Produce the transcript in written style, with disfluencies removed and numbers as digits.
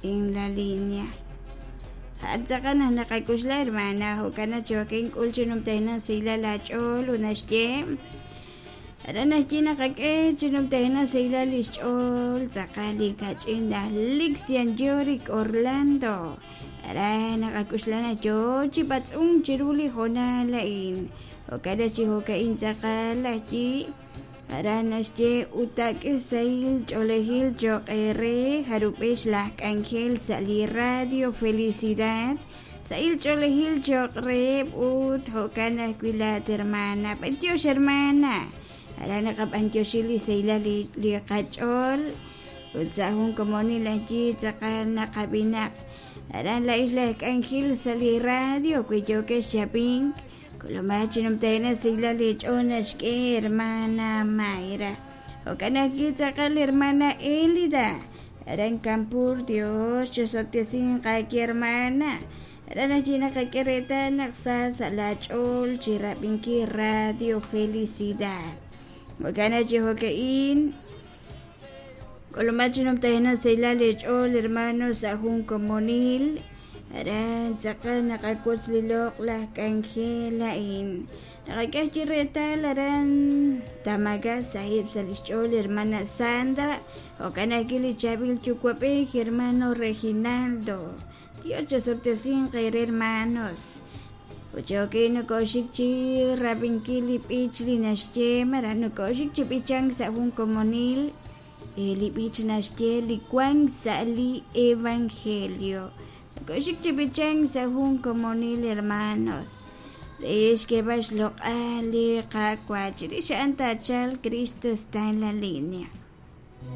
en la línea. A'an tz'aqal naq naqak'oxla hermana, jo'kan naq chi jo'kan k'ul chi numtajenaq sahilal aach'ool ut naxye aran naxye naqak'e chi numtajenaq sahilal li xch'ool tz'aqal li kach'in laj Lixian Yorick Orlando. Aran naqak'oxla naq yoo chi b'atz'unk chiru li hoonal a'in. Jo'kan naq chi jo'ka'in tz'aqal laj yi Aran naxye, Ut taak'e sahil ch'oolejil cho'q eere jarub'ex laj k'anjel sa' li Radio Felicidad, sahil ch'oolejil cho'q reheb' ut jo'kan ajwi' laat hermana. B'antiox hermana! Aran naqab'antioxi li sahilal li qach'ool ut sa' jun komonil aj yi tz'aqal naqab'inaq. Aran laa'ex laj k'anjel sa' li radio wi yookex chi ab'ink. K'ulumaq chi numtajenaq sahilal eech'ool naxk'e hermana Mayra. Jo'kan ajwi' tz'aqal hermana Elida. Aran Campur, Dios chosob'tesinq aawe hermana. Aran ajwi' naqak'e reetal naq sa sa' laa ch'ool chi rab'inkil Radio Felicidad. Jo'kan naq chi jo'ka'in, K'ulumaq chi numtajenaq sahilal eech'ool hermano sa' jun komonil. Aran tz'aqal naqawotz li loq'laj k'anjel a'in. Naqak'e chi reetal aran Tamaga saheb' sa' lix ch'ool hermana Sandra, jo'kan ajwi' li chaab'il yuwa'b'ej hermano Reginaldo. Dios chosob'tesinq eere hermanos. Ut chi jo'kin nokoxik chi rab'inkil li b'ich li naxye malaj nokoxik chi b'ichank sa' jun komonil li b'ich naxye li wank sa' li evangelio. Nokoxik chi b'ichank sa' jun komonil hermanos. Re xk'eeb'al xloq'al li Qaawa' chirix a'an taachalq Cristo está en la línea.